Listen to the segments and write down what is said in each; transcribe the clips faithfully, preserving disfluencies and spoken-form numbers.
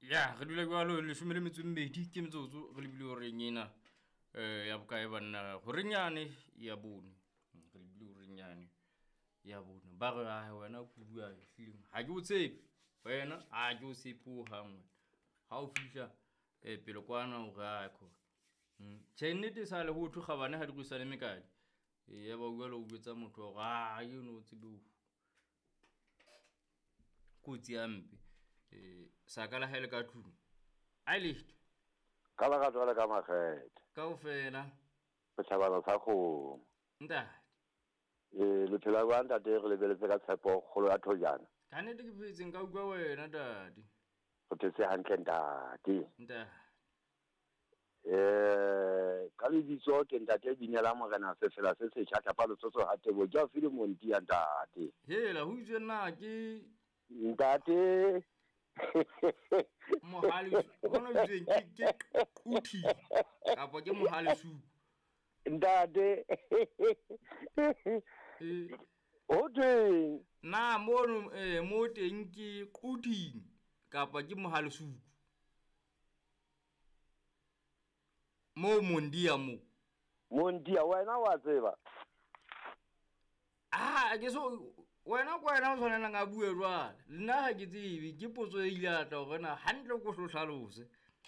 Ya re dula jwalo leshome le metso e mmedi ke metsotso re lebile horeng ena um ya bokae banna horeng yane ya bone. Re lebile horeng yane ya bone. Ba re ae wena kudu a ehlileng ha ke o tshepe wena ha ke o tshepe hohang wena. Ha o fihla um pele kwana o re ae khona. Tjhe, nnete e sale ho thwe kgabane ha di rwesane mekadi. Ya ba jwale o jwetsa motho hore a eno o tsebe kotsi hampe. Eh sa ka la hae le ka tlung. A le Ka lerato le ka makgethe. Kaofela. Setjhabana sa kgomo. Ntate. Eh le phela jwang ntate re lebeletse ka tshepo kgolo ya thojana. Ka nnete ke phetse nka utlwa wena ntate. Re phetse hantle ntate. Ntate. Eh ka lebitso ke ntate Binela Morena Sefela se setjha tlapa letsotso ha tebo ke a file monti ya ntate. Hela ho itswe na ke ntate Mohale bona o itsweng ke ke uthi kapa ke mohale su ntate. Eh o teng na mono eh mo teng ke quthing kapa ke mohale su mo mondia mo mondia wena wa tseba ah ke so wena kwa wena o tshwanelang a bue jwale nna ha ke tsebe ke potso e ile ya tla hore na hantle ko hlo hlalose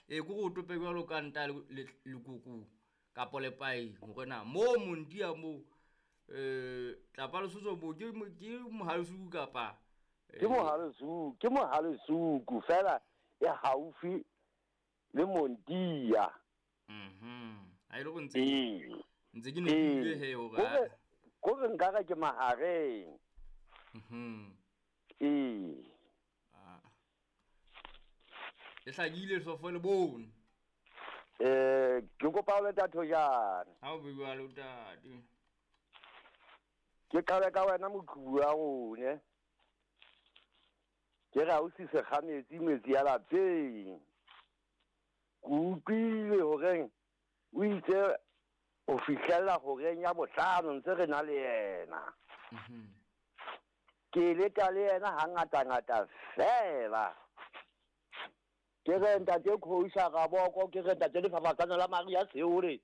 e ko go tope jwalo ka nta lekoko kapa lepai hore na mo mondia mo eh tlapa lesotso mo ke ke mohalesuku kapa ke mohalesuku ke mohalesuku fela e haufi le mondia. Mhm a ile go ntse ntse ke ne ke ile he hore ko re nka re ke mahareng. Mhm. Eh. Ah. E hlakile sofo le bone. Eh, ke kopa o le thojana. Ha o bua le ntate. Ke qale ka wena moqhubu wa rone. Ke ra o sise ga metsi metsi ya lapeng. Ke utlwile horeng o itse o fihlela horeng ya bohlano ntse re na le yena. Mhm. Ke leka le yena hangata ngata fela. Ke re ntate Khoisa Raboko, ke re ntate Lefafatsana la Maria Seore.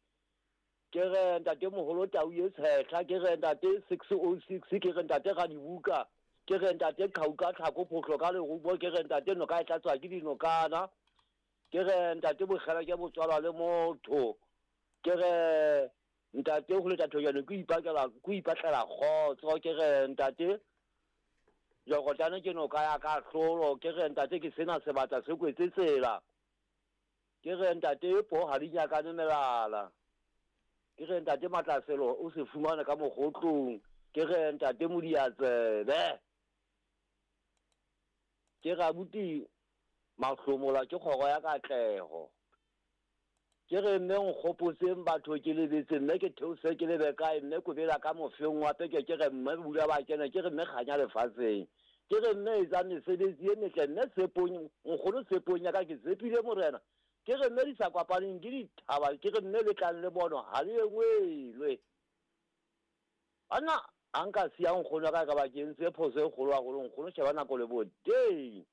Ke re ntate Moholo Tau e Tshehla, ke re ntate six oh six, ke re ntate Radibuka, ke re ntate Qhauka Tlhako Phohlo ka lerumo, ke re ntate noka e tlatswa ke dinokana. Ke re ntate Bokgela ke botswalwa le motho. Ke re ntate ho le thojana ke ipakela ke ipatlela kgotso, ke re ntate Jokotane ke noka ya ka hlolo, ke re ntate ke sena sebata se kwetse tsela. Ke re ntate po ha di nyakane melala. Ke re ntate Matlaselo o se fumana ka mogotlong. Ke re ntate Modiatsebe. Ke re abuti mahlomola ke kgoro ya katleho. Ke re mme nkgopotseng batho ke lebetse mme ke theose ke lebe kae mme kobela ka mofeng wa peke ke re mme bula ba kena ke re mme kganya lefatsheng. Ke re mme etsa mesebetsi e metle mme tshepong nkgono tshepong ya ka ke tshepile morena. Ke re mme di sa kopaneng ke dithaba ke re mme le tlang le bono ha le engwelwe. Ana a nka siya nkgono ka ka ba ke ntse phoso e kgolo haholo nkgono sheba nako le boteng.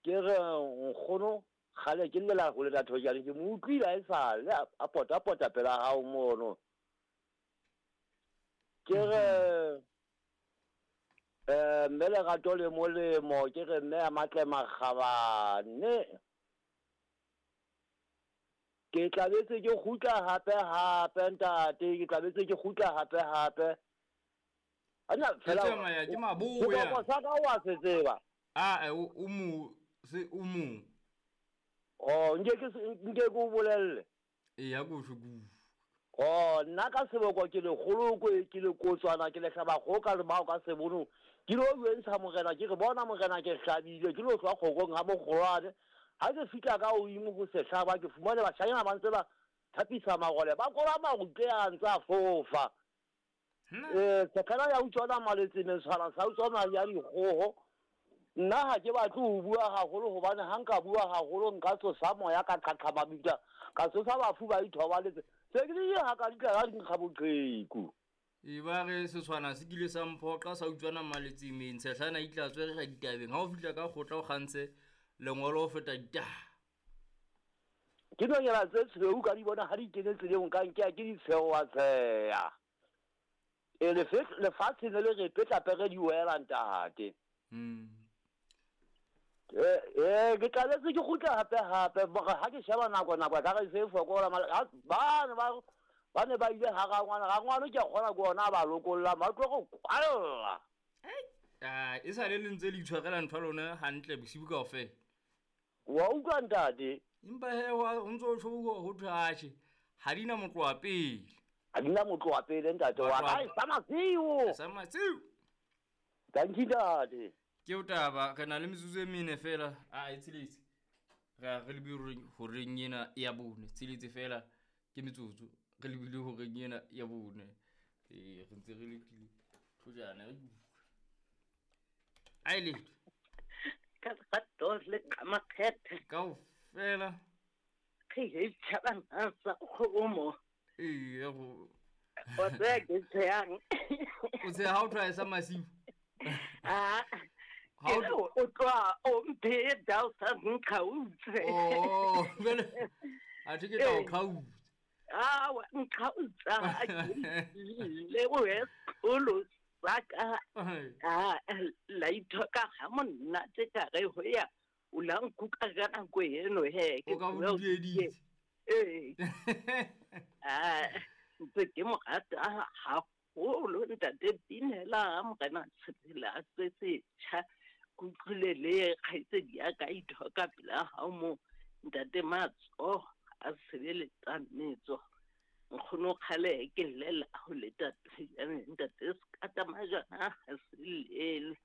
Ke re nkgono kgale ke llela ho le thojana ke mo utlwile a e sale a pota pota pela hao mono. Ke re eh mme lerato le molemo ke re mme a matle makgabane. Ke tlabetse ke kgutla hape hape ntate ke tlabetse ke kgutla hape hape. Ana fela tsamaya ke maboya. Ke sa ka wa se tseba. Ah o mo se o mo Oh, nke ke nke ke o bolelle. E ya go sho ku. Oh, nna ka seboko ke le kgoloko ke le kotswana ke le hlaba go ka le bao ka sebono. Ke lo bentsha morena ke re bona morena ke hlabile ke lo tswa kgokong ha bokgolwane. Ha ke fihla ka o imo go se hlaba ke fumane bashanyana ba ntse ba thapisa marole ba kola marutle a ntse a fofa. Eh, sekgala ya utswana maletse mentshwana sa utswana ya dikgoho. Nna ha ke batle ho bua haholo hobane ha nka bua haholo nka tsosa moya ka qhaqha mabitla ka tsosa bafu ba ithobaletse se ke di ha ka ditla ka dinkga boqheku. E ba re setshwana se kile sa mphoqa sa utswana maletsemeng tshehlana e tla tswere ga ditabeng ha o fihla ka kgotla o kgantse Lengolo ho feta ditaba. Ke nonyana tse tshweu ka di bona ha di kene tseleng ka nke ke di tshewa tsheya. E lefatshe ne le re petla pere di wela ntate. Mm. Eh eh ke tlaletse ke kgutla hape hape mara ha ke sheba nako nako ka re se fokola ba ba ba ne ba ile ha rangwana rangwana ke kgona go ona ba lokolla ba tlo go kwalla. Ah e sa le le ntse le itshwarela ntho lona hantle bosibu kaofela. Wa utlwa ntate. Empa he o ntso o tjho ho thwe ha di na motloa pele. Ha di na motloa pele ntate wa ka sa masiu. Sa masiu. Thank you ntate. Ke o taba re na le metsotso e mene fela a e tsheletse. Re re lebile horeng ena ya bone tsheletse fela ke metsotso re lebile horeng ena ya bone. Eh re ntse re letile thojana re ai le ka gato le ka makgethe kaofela ke e tshaba sa kgomo ee go o tse ke tseyang o tse ha o try sa masiu ah o tloa o mphe dao sa nkgautse oh vele a thi ke tla o kgautse ah wa nkgautsa le o e olo saka ah la ithoka ha monna tse ka re ho ya o la nkuka ka nako eno he ke o ka o dieditse ee ah ntse ke mo rata haholo ntate Binela morena tshela se setjha kutlwile le kgaitsedi ya ka ithoka pela hao mo ntate Matso a sebeletsa metso nkgono kgale ke llela ho le tate ntate se ka majana ha se lele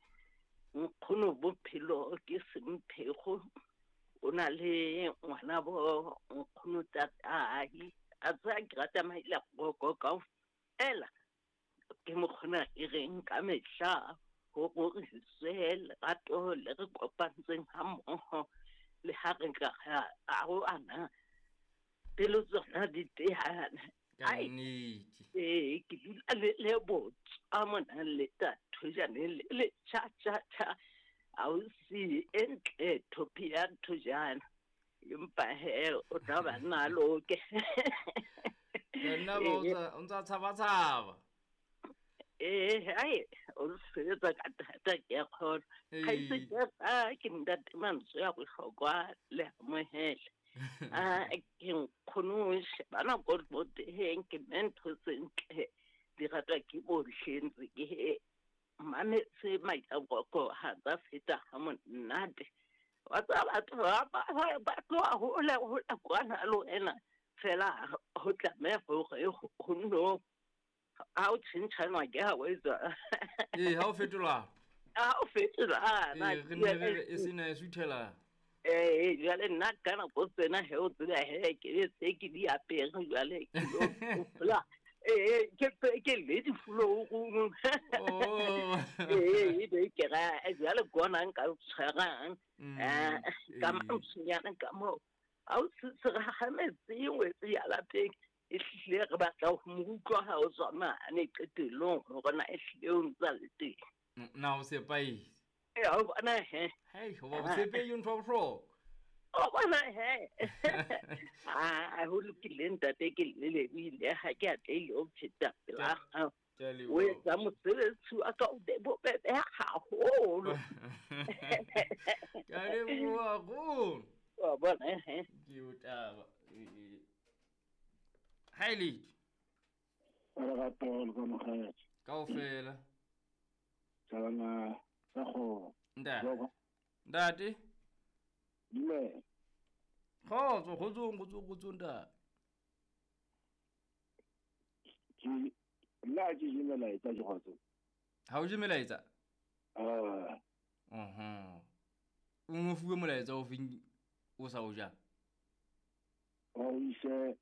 nkgono bophelo ke semphego o na le ngwana bo nkgono tatai a tsa ke rata maila go kaofela ke mo kgona e reng ka mehla ho roriswe lerato le re kopantseng ha mmoho le ha re nka a ho ana pelo tsona di tehana ka nnete ee ke dula le le botsa mona le thojane le le cha cha cha ausi entle thopia thojana empa he o tla ba nna loke nna ba o ntsa tshaba tshaba ee ai o sebetsa ka thata ke kgona ga ise ke a ke ntate mantswe ya bohlokwa le amohele a ke nkgono shebana ko boteng ke mentho sentle di ratwa ke bohle ntse ke mametse maitapoko ha tsa feta ha monate wa tsa batho ba ba tloha hole hole kwana le wena fela ho tlameha hore ho nno ha o tjhentjhanwa ke ha o etsa ee ha o fetola ha o fetola ee re ne re e sena e suthela ee jwale nna ka nako tsena he o tseba he ke se ke di apere jwale ke lo hopola ee ke ke le di floorong oh ee be ke ra jwale kona nka tshwarang eh ka mantswenyana ka mo ha o se re hametse ngwetsi ya lapeng e hlile re batla ho mo utlwa ha o tswa mane qetellong hore na e hlile o ntsa le teng na o sepaile ee o bona he hei ho ba botshepehi ntho ya bohlokwa o bona he a ho lokile ntate ke le lebohile ha ke atlehile ho pheta pela hao o etsa mosebetsi wa ka o be bobebe haholo ke a leboha haholo wa bona he ke o taba ha e le lerato le kamogelo kaofela thabana sa go ntate ntate dumela kgotso kgotsong kgotsong kgotsong ntate ke nna ke je melaetsa ke kgotso ha o je melaetsa ah mhm o mo fuwe molaetsa o feng o sa o jang o ise